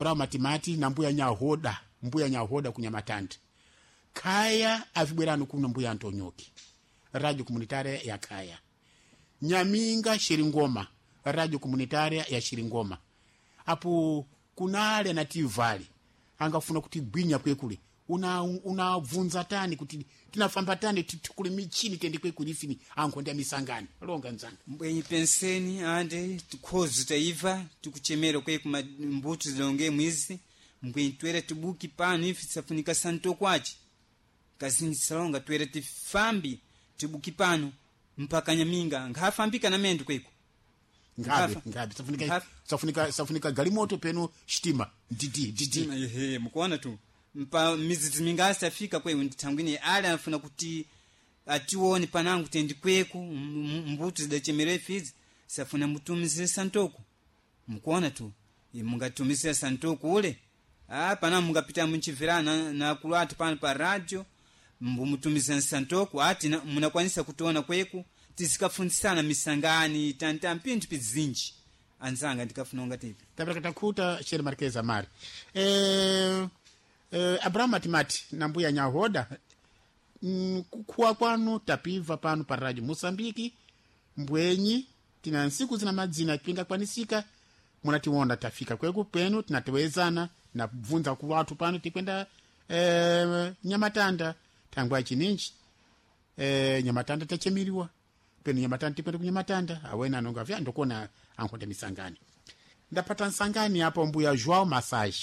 Abrahamu Matimati na mbuya Nyahoda, mbuya Nyahoda kunyamatanda Khaya avibwerano kuno mbuya Antonyoki, radio komunitaria ya Khaya. Nyaminga Shiringoma, radio komunitaria ya Shiringoma. Apo kunale na tivali angafuna kuti gwinya kwekule unabvunza tani kuti tinafamba tani tikule michini tende kwekule ifini ankhonde misangano longa nzanga. Mbwenyi penseni ande tikhozi taiva tikuchemera kwe kuma mbuto zilonge mwizi mbwenyi twere tibuki pano ife tisafunika santo kwace kazinji salonga twere tifambi tibuki pano mpaka Nyaminga nkhafambika na mendo kweko. Ngabe Nkhafa. ngabe safunika Nkhafa. safunika safunika galimoto peno shitima dd dd. Ehe, mukuona tu mpa mizizi mingasi afika kweyo ndithangwine ali anafuna kuti atione panangu tendi kweku mbuto zidachemera ifizi safuna mutumizire santoko mukuona tu. Mungatumizira santoko ule pana mungapita munchiverana na akulu athu pano pa radio mbumutumizira santoko ati munakwanisa kutiona kweku tizikafunzisana misangani tanta mpinthu pizinji anzanga ndikafuna ungatipi. Tapereka takhuta shere Marquez Amari, Abrahamu Matimati na mbuya Nyahoda, kukhuwa kwanu tapiva pano pa radio Moçambique. Mbwenyi tina nsiku zina madzina pingakwanisika munatiwona tafika kweku penu tinatewezana na kubvunza ku watu pano tikwenda Nyamatanda thangwa chininji Nyamatanda tachemiriwa penu Nyamatanda tikwenda kunyamatanda awena anonga vya ndokona ankhonde misangani. Ndapata nsangani apo mbuya João Massage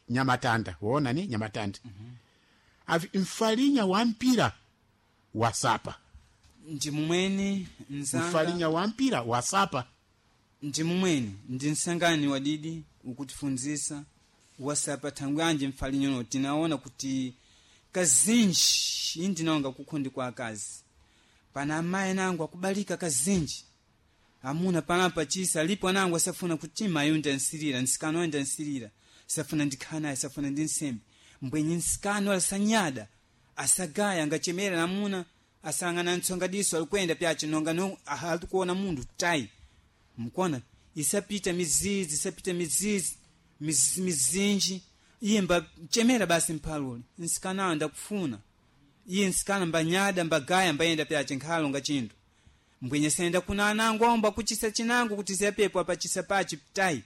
Nyamatanda wona ni Nyamatanda. Avi mfalinya wa mpira wasapa. Ndi mumweni nzanga. Mfalinya wa mpira wasapa. Ndi mumweni ndi nsangani wadidi ukutifunzisa wasapa thangwi anje mfalinyono tinaona kuti kazinji indinaonga kukhundi kwa akazi pana amayi nangu akubalika kazinji amuna panapa chisa alipo anangu asafuna kuti mayi ndansirira nsikano ayo ndansirira safuna ndikhala naye safuna ndi nsembe mbwenye nsikano asanyada asagaya angachemera namuna asangana ntsonga diso alikwenda pyache nonga no alikuona mundu tai mukona isapita mizizi isapita mizizi mizinji iye mbachemera basi mphalule nsikanawo ndakufuna iye nsikana mbanyada mbagaya mbayenda pyache nkhalo nga chindu mbwenye senda kuna anangu aomba kuchisa chinangu kuti siyapepo apachisa pachi tai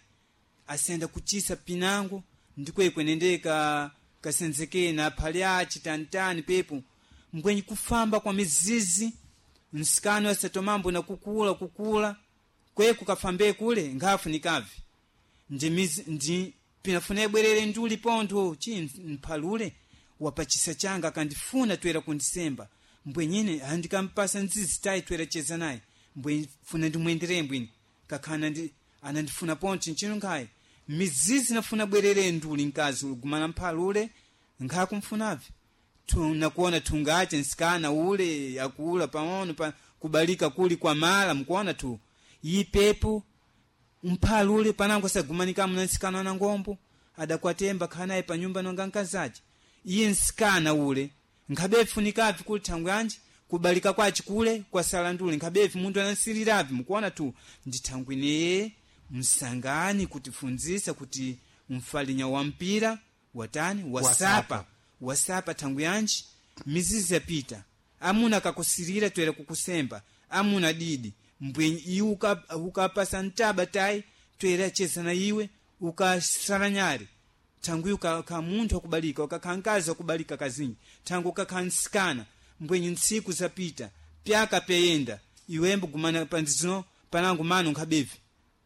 asenda kuchisa pinangu ndikwekwe nendeka kasenzekee na phali achi tantani pepo mbwenye kufamba kwa mizizi nsikano asatomambo na kukula kukula kweku kafambe kule nkhafu nikavi ndi mizi ndi pinafuna ibwerere nduli pontho chi mphalule wapachisa changa akandifuna twera kundisemba mbwenyine andikampasa nzizi tayi twera cheza naye mbwe funa ndimwenderere mbwini kakhana ndi anandifuna pontho nchino nkhayi mizizi nafuna bwerere nduli mkazi gumana mphalule nkhakumfunavi nakuona thungache nsikana ule akula pang'ono pa kubalika kuli kwa mala mkuona tu ipepo mphalule panango asagumanika mna nsikana na ngombo adakwatemba khanaye pa nyumba nonga nkazache iye nsikana ule nkhabefunikavi kuli thangwe anji kubalika kwachi kule kwasala ndule nkhabevi munthu anasiriravi mukuona tu ndithangwineye msangani kutifunzisa kuti mfalinya wa mpira watani wasapa Wasapa. Wasapa thangwi yanji mizizi yapita amuna akakusirira twera kukusemba amuna didi mbwenyi iwe ukapasa ntaba tayi twera cheza na iwe ukasala nyale thangwi ukakha munthu akubalika ukakha mkazi akubalika kazinji thangwi ukakha nsikana mbwenyi ntsiku zapita pyaka peyenda iwembo gumana panzino panangu mano nkhabevi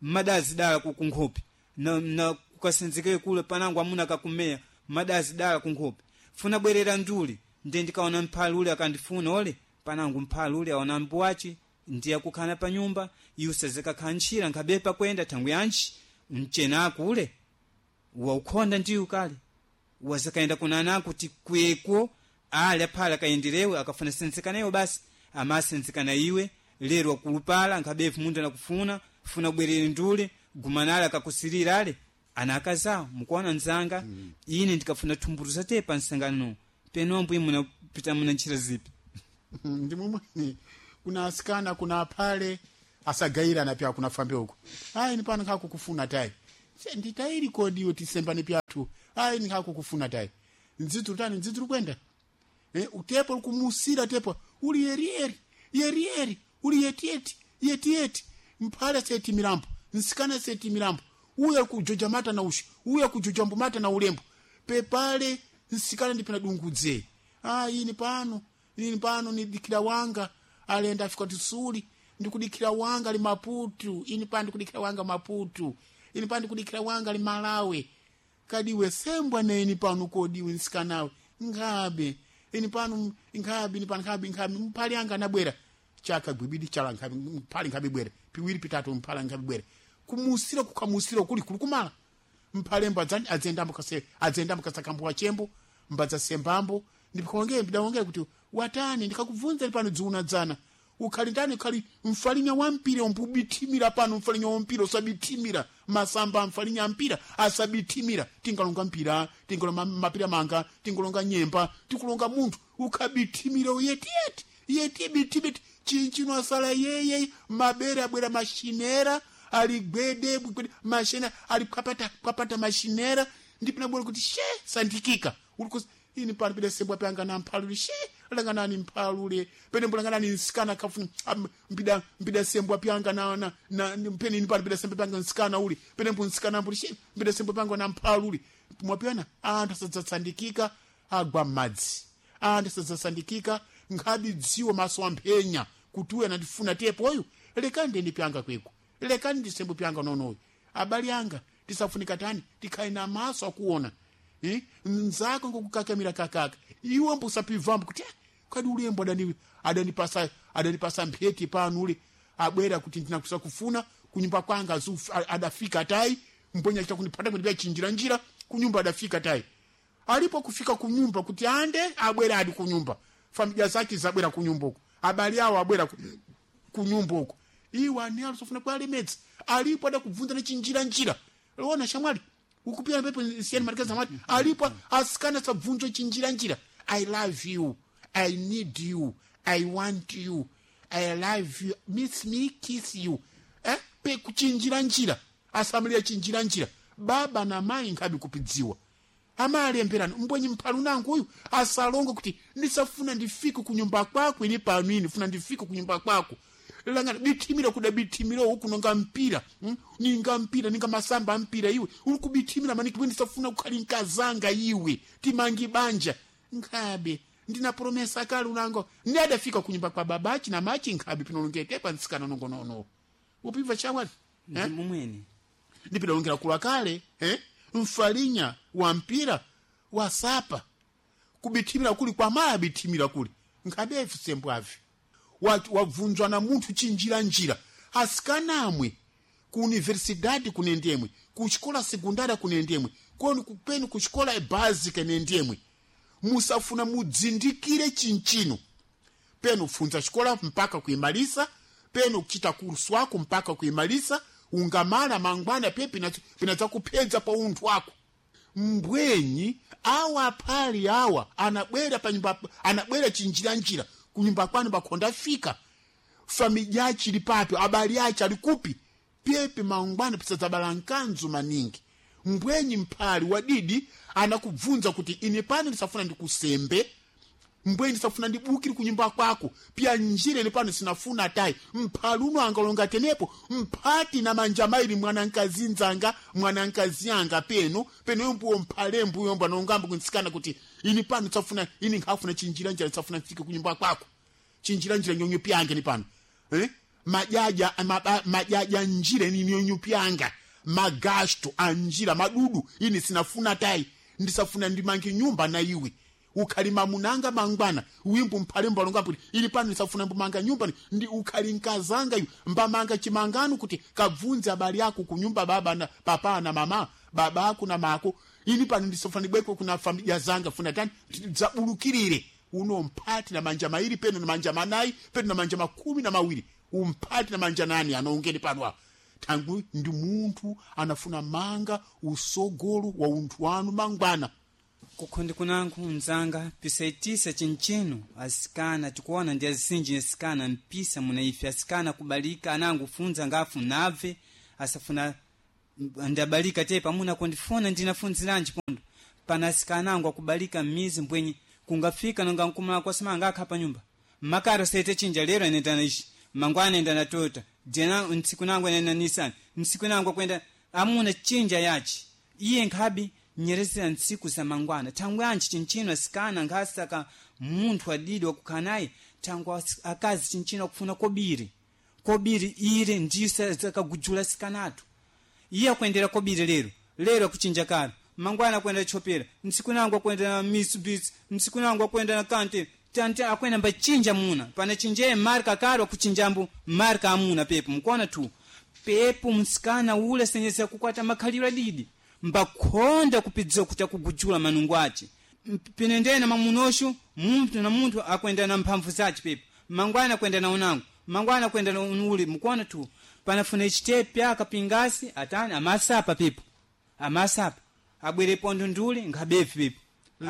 mmadazi dala kunkhope na kukasenzekere kule panangu amuna akakumeya mmadazi dala kunkhope funa bwerera nduli nde ndikaona mphali ule akandifuna ole panangu mphali ule aona mbuwachi ndiye akukhala pa nyumba iwe usazikakhala ntchira nkhabepa kwenda thangwi yanji mchenako ule waukhonda ndiyo kale wazakaenda kunana kuti kweko ali aphala akayenderewe akafuna senzekaneyo basi amasenzekana iwe lero wakulupala nkhabevu munthu anakufuna funa bwerere ndule gumanale akakusirira ale ana akazawo mukuona nzanga. Ine ndikafuna thumbulu zatepa nsangano penombo imwe munapita muna ntchira zipi. Ndi momwe kuna asikana kuna aphale asagayirana pya kuna fambe uko ayi ni pano nkhakukufuna tayi nditayili kodiwe tisembane pya. Tu ayi nikhakukufuna tayi ndzidzi tani ndzidzi likwenda utepo likumusira tepo uli yerieri yerieri uli yetieti yetieti mphale seti milambo nsikana seti milambo uya kujoja mata na ushi uya kujoja mbumata na ulembo pepale nsikana ndipina dungudze ah ini pano nidikira wanga alenda afika tisuli ndikudikira wanga li Maputu ini pano ndikudikira wanga Maputu ini pano ndikudikira wanga li Malawi kadiwe sembwa neni pano kodiwe nsikanawe nkhabe ini pano nkhabe ini pano nkhabe nkhabe mphali anga anabwera chaka gwibidi chala nkhabe mphali nkhabe bwera piwiri pitatu mphali nkhabe bwera kumusira kukamusira kuli kuli kumala mphalembo adzendambo kase adzendambo kasakambo chembo mbadza sembambo ndikonge ndawongera kuti watani ndikakubvunza pano dziuna dzana ukhali ndani ukhali mfalinya wa mpira umbubitimira pano mfalinya wa mpira usabitimira masamba mfalinya mpira asabitimira tingalonga mpira tingalonga mapira manga tingalonga nyemba tikulonga munthu ukhabitimira uyetiyeti yeti bitimiti chinchino asala yeye mabere abwera mashinera ali gwede gwede mashina ali kwapata kwapata mashinera ndipina bwera kuti she sandikika ulikus ini pano pide sembwa panga na mphalule she langanani mphalule pene mbulanganani nsikana kafuna mpida mpida sembwa pyanga na na, na mpene ini pano pida sembwa pyanga nsikana uli pene mbu nsikana mbuli she mpida sembwa pyanga na mphalule mwapyana anthu asadzasandikika agwa m'madzi anthu asadzasandikika nkhabi dziwo maso amphenya kuti uyu anandifuna tepoyu lekani ndende pyanga kweko lekani ndisembo pyanga nonoyo abali anga tisafunika tani tikhale na maso akuona nzako ngokukakamira kakaka iwe mbusapivambo kuti kadi ulembo adani adanipasa adanipasa mpheti pano ule abwera kuti ndinakusa kufuna kunyumba kwanga adafika tai mponya chita kunipata kuti chinjira njira kunyumba adafika tai alipo kufika kunyumba kuti ande abwera adi kunyumba familia zake zabwera kunyumba uko abali awo abwera kunyumba uko iwe ani alisofuna kwalemedza alipo adakubvunza nechinjira njira ona shamwali ukupira pepo siyani marikeza mati alipo asikana sabvunzwe chinjira njira I love you, I need you, I want you, I love you, miss me, kiss you, pe kuchinjira njira asamulira chinjira njira baba na mai nkhabi kupidziwa amalemberano mbwenyi mphalu nangu uyu asalongo kuti ndisafuna ndifike kunyumba kwako ini pano ini funa ndifike kunyumba kwako langana bitimira kuda bitimira uku nonga mpira ninga mpira ninga masamba mpira iwe uri kubitimira maniki bwe ndisafuna kukhali nkazanga iwe timangi banja nkhabe ndina promesa kale unango ndi adafika kunyumba kwa babachi na machi nkhabe pinolongete pa nsikana nongonono upimva chamwali ndi mumwene ndipidalongera kula kale mfalinya wa mpira wasapa kubitimira kuli kwa maya bitimira kuli nkhabe sembwavi wabvunzwa na munthu chinjira njira asikanamwe ku universidade kunendemwe ku xikola sekundária kunendemwe koni kupeni ku xikola ebásica nendemwe musafuna mudzindikire chinchino peno funza xikola mpaka kuimalisa peno kuchita kursu wako mpaka kuimalisa ungamala mangwana pe pinadzakupedza pa unthu wako mbwenyi awa phali awa anabwera pa nyumba anabwera chinjira njira kunyumba kwanu bakhonda fika familya yachi ili papi abali achi ali kupi pyepe mangwana pisadzabala nkanzu maningi mbwenyi mphali wadidi anakubvunza kuti ine pano ndisafuna ndikusembe mbwenyi ndisafuna ndibukire kunyumba kwako pya njira ine pano sinafuna tayi mphali uno angalonga tenepo mphati na manja maili mwana nkazi nzanga mwana nkazi anga peno peno yombuwo mphale mbuyombo anongamba kunsikana kuti ini pano tsafuna ini nkhafuna chinjira njira tsafuna mfike kunyumba kwako chinjira njira nyonyo pyange ni pano majaja majaja njira ini nyonyo pyanga magasto anjira madudu ini sinafuna tayi ndisafuna ndimange nyumba na iwe ukhali mamunanga mangwana wimbo mphale mbalonga kuti ili pano ndisafuna mbumanga nyumba ndi ukhali nkazanga iwe mbamanga chimangano kuti kabvunze abali ako kunyumba baba na papa na mama baba ako na mako ini pano ndisafuna ndibweko kuna familia zanga funa tani zabulukirire uno mphati na manja mairi peno na manja manayi peno na manja makumi na mawiri umphati na manja nani anaongeni pano apa tangu ndi munthu anafuna manga usogolo wa unthu wanu mangwana kukhondi kunanku mzanga pisaitisa chinchino asikana tikuona ndi azinji asikana mpisa muna ife asikana kubalika anangu funza ngafu nabve asafuna ndabalika te pamuna kundifuna ndinafunziranji Panasikanangu akubalika mmizi mbwenye kungafika nonga nkumala kwasema anga pa nyumba makaro sete chinja lero anenda na ishi mangwana anenda na Toyota jena ntsiku nangu anenda na Nissan ntsiku nangu akwenda amuna chinja yachi iye nkhabi nyerezera ntsiku za mangwana. Thangwe anji chinchino asikana nkhasaka munthu adidi wakukhala naye thangwe akazi chinchino akufuna kobiri kobiri ire ndiyo zakagujula sikanatu. Iye akuendera kobiri lero lero akuchinja kalo mangwana akwenda chopera ntsiku nangu akwenda na Mitsubishi ntsiku nangu akwenda na kante tante akwenda mbachinja muna pana chinjeye marka kalo akuchinjambo marka amuna pepo mkuona tu pepo msikana ule senyeza kukwata makhaliro adidi mbakhonda kupidzira kuti akugujula manungo ace. Pinendena mamunosho munthu na munthu akwenda na mphamvu zace pepo mangwana akwenda na unango mangwana akwenda na unuli mkuona tu panafuna ichitepe akapingasi atani amasapa pepo amasapa abwere pondo ndule nkhabefi pepo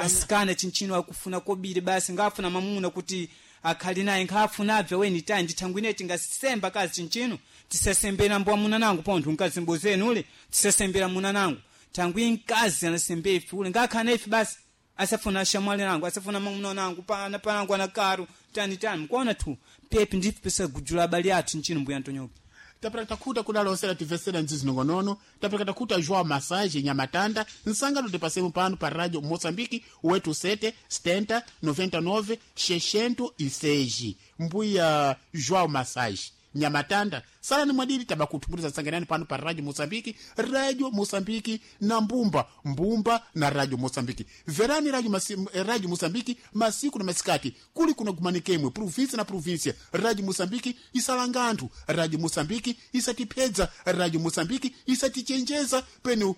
asikana chinchino akufuna kobiri basi ngafuna mamuna kuti akhali naye nkhafuna abve weni tayi ndithangwine tingasemba kazi chinchino tisasembera mbo amuna nangu pontho mkazi ule tisasembera muna nangu thangwi mkazi anasembe ife ule ngakhana ife basi asafuna ashamwali nangu asafuna mamuna nangu pana panangu anakaru tani tani mkuona tu pepi ndife pisagujula abali athu nchino mbuya Antonioke. Tapera takuta kudalosera tivesera nzizi nongonono. Tapera takuta João Massage Nyamatanda nsangano tipasemu pano pa Radio Moçambique 87 70 99 606. Mbuya João Massage Nyamatanda salani mwadidi tabakutumbuliza nsanganani pano pa Radio Moçambique, Radio Moçambique na mbumba mbumba na Radio Moçambique. Verani Radio, Radio Moçambique masiku na masikati kuli kuna gumanikemwe província na província. Radio Moçambique isalanga anthu, Radio Moçambique isatipedza, Radio Moçambique isatichenjeza penu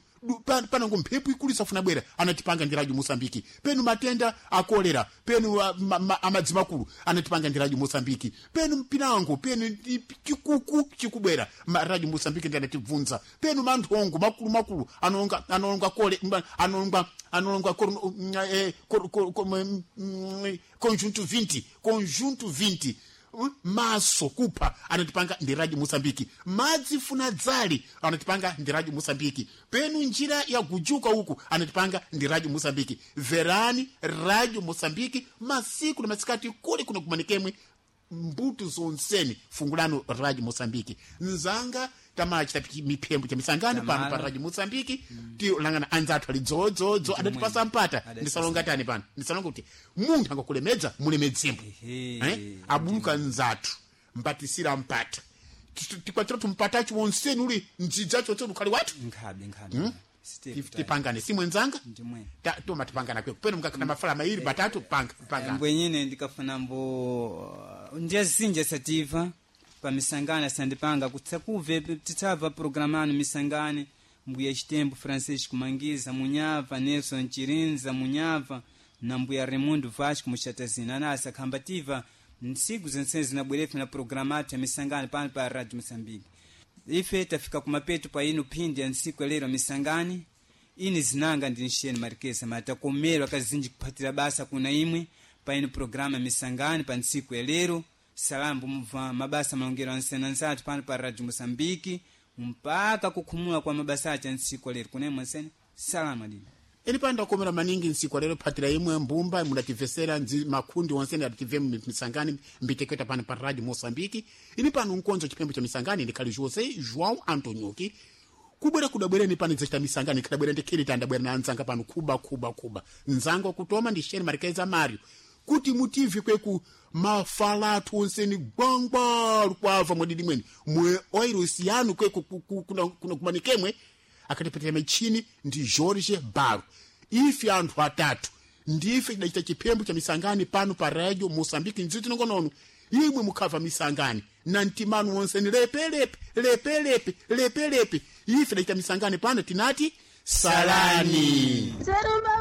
panango mphepo ikulu isafuna bwera anatipanga ndi Radio Moçambique. Penu matenda akolera penu amadzi makulu anatipanga ndi Radio Moçambique. Penu mpinango penu chikuku chikubwera Radio Moçambique ndi anatibvunza. Penu manthongo makulu makulu anonga anonga kole anonga anonga conjunto 20 conjunto 20 maso kupha anatipanga ndi Radio Moçambique. Madzi funa dzali anatipanga ndi Radio Moçambique. Penu njira ya gujuka uku anatipanga ndi Radio Moçambique. Verani Radio Moçambique masiku na masikati kuli kuno kumanikemwe mbuto zonseni fungulano Radio Moçambique. Nzanga tamachita miphembo cha misangano pano pa Radio Moçambique. Tilangana anzathu ali dzodzo adatipasa mpata ndisalonga tani pano ndisalonga kuti munthu angakulemedza mulemedzembo abuluka nzathu mpatisira mpata tikwatira tumpatachi wonseni uli ndzidzacho wonseni ukhali wathu nkhabe nkhabe tipangane simwe nzanga toma tipangana kweko peno mukakhala mafala mairi matatu panga panga mbwenyine ndikafuna mbo ndiyazinja sativa pamisangano asandipanga kutsakuve titsabva programa anu misangane mbuya Chitembo Francisco Mangiza Munyava Nelson Chirinza Munyava na mbuya Raimundo Vasco Muchatazina anasa khambativa ntsiku zense zinabwerefe na programa athu ya misangano pano pa Radio Moçambique. Ife tafika kumapeto pa ino phindi ya ntsiku ya lero misangani ini zinanga ndi nxeni marikesa matakomerwa kazinji kuphatira basa kuna imwe pa ino programa misangani pa ntsiku ya lero. Salambo mubva mabasa malongero ansenanzathu pano pa Radio Moçambique mpaka kukhumula kwa mabasa acha ntsiku ya lero kuna imwe nsene salama dini Ini pano ndakomera maningi ntsiku lero phatira imwe mbumba mudativesera nzi makhundi onse adative misangani mbiteketa pano pa Radio Moçambique. Ini pano nkonzo chipembo cha misangani ndikhali José João Antonioki kubwera kudabwereni pano ndzachita misangani khadabwera ndikhili tandabwera na anzanga pano kuba kuba kuba nzanga kutoma ndi Sheni Marikeza Mario kuti mutive kweku mafala athu onseni gwangwa lukwava mwadidi mweni mwe oirosi yanu kweku kuna kumanikemwe akatipatira michini ndi Jorge Baro. Ife anthu atatu ndife tidachita chiphembo cha misangani pano pa Radio Moçambique ndziti nongonono imwe mukhabva misangani na mtimanu wonseni lepelepe lepelepe lepelepe. Ife tidachita misangani pano tinati salani. Zerumba.